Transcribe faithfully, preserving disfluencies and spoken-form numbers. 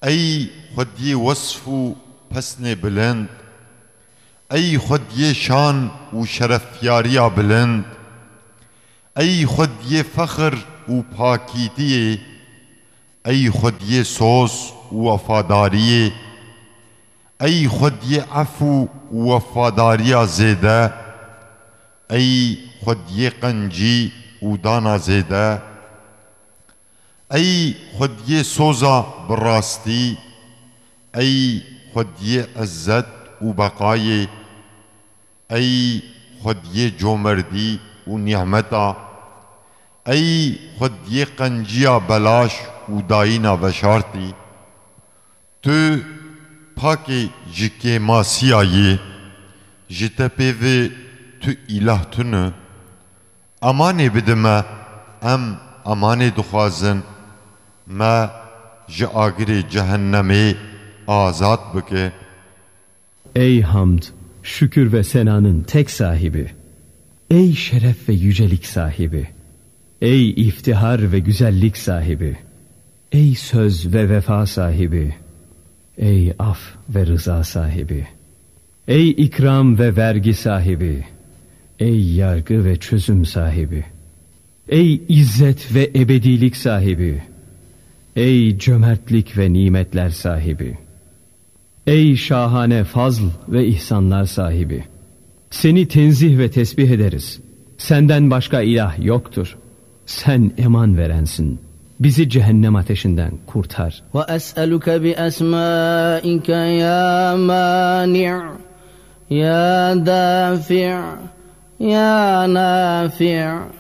Ey xwediyê wesf û pesnê bilind, ey xwediyê şan û şerefyariya bilind, ey xwediyê fexir û pakîtiyê, ey xwediyê soz û wefadariyê, ey xwediyê efû û wefadariya zêde, ey xwediyê qencî û dana zêde, ey xwediyê soza bi rastî, ey xwediyê izzet û beqayê, ey xwediyê comerdî û nîmeta, ey xwediyê qenciya belaş û dayîna veşartî. Tu pakê ji kêmasiya yî, ji te pê ve tu îlah tune. Emanê bide me, em emanê dixwazin, me ji agirê cehennemê azad bike. Ey hamd, şükür ve senanın tek sahibi. Ey şeref ve yücelik sahibi. Ey iftihar ve güzellik sahibi. Ey söz ve vefa sahibi. Ey af ve rıza sahibi. Ey ikram ve vergi sahibi. Ey yargı ve çözüm sahibi. Ey izzet ve ebedilik sahibi. Ey cömertlik ve nimetler sahibi. Ey şahane fazl ve ihsanlar sahibi. Seni tenzih ve tesbih ederiz. Senden başka ilah yoktur. Sen eman verensin. Bizi cehennem ateşinden kurtar. وأسألك بأسمائك يا مانع يا دافع يا نافع